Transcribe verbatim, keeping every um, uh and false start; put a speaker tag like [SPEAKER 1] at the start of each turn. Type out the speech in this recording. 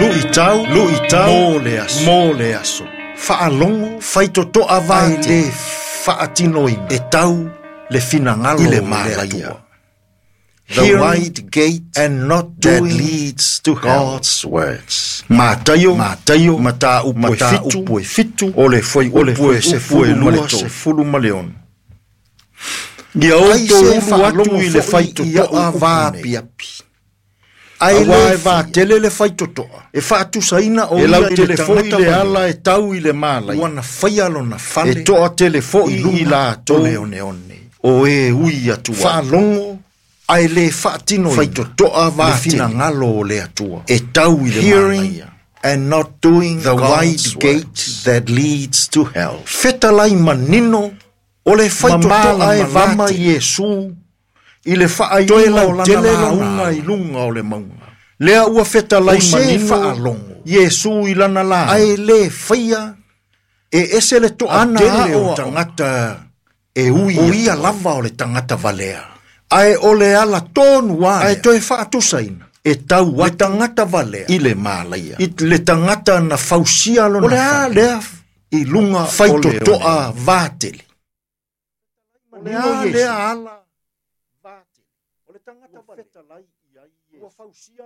[SPEAKER 1] Luʻitau luʻitau mo le aso mo le aso. Faalogo faitotoa vatele ae lē faatinoina e tau le finagalo i le Malaia. The wide gate and not that leads to God's words. Mataio, Mataio, mataupu e fitu, e fitu, o le fuaiupu e sefulu sefulu ma le ono. Ia outou ulu atu i le faitotoa vaapiapi. Ae le vatele le faitotoa e faatusaina o ia i le foi le ala e tau i le malai. Ua na faia lona fale e toatele foi i latou o le oneone. O e ui atu ai. Faalogo ae lē faatinoina faitotoa le finagalo o le Atua e tau i le malaia. And not doing the wide gate that leads to hell. Fetalai manino o le faitotoa e vama Iesu i le faaiuga o lana lauga i luga o le mauga. Lea ua fetalai manino faalogo Iesu i lana la ae lē faia e ese le toatele o tagata e ui o ia lava o le tagata valea. Ae o le ala tonu a ae toe faatusaina e tau le tagata valea i le malaia. I le tagata na fausia lona o le a lea i luga faitotoa vatele. O le a lea ala vatele. O le tagata valea ua fausia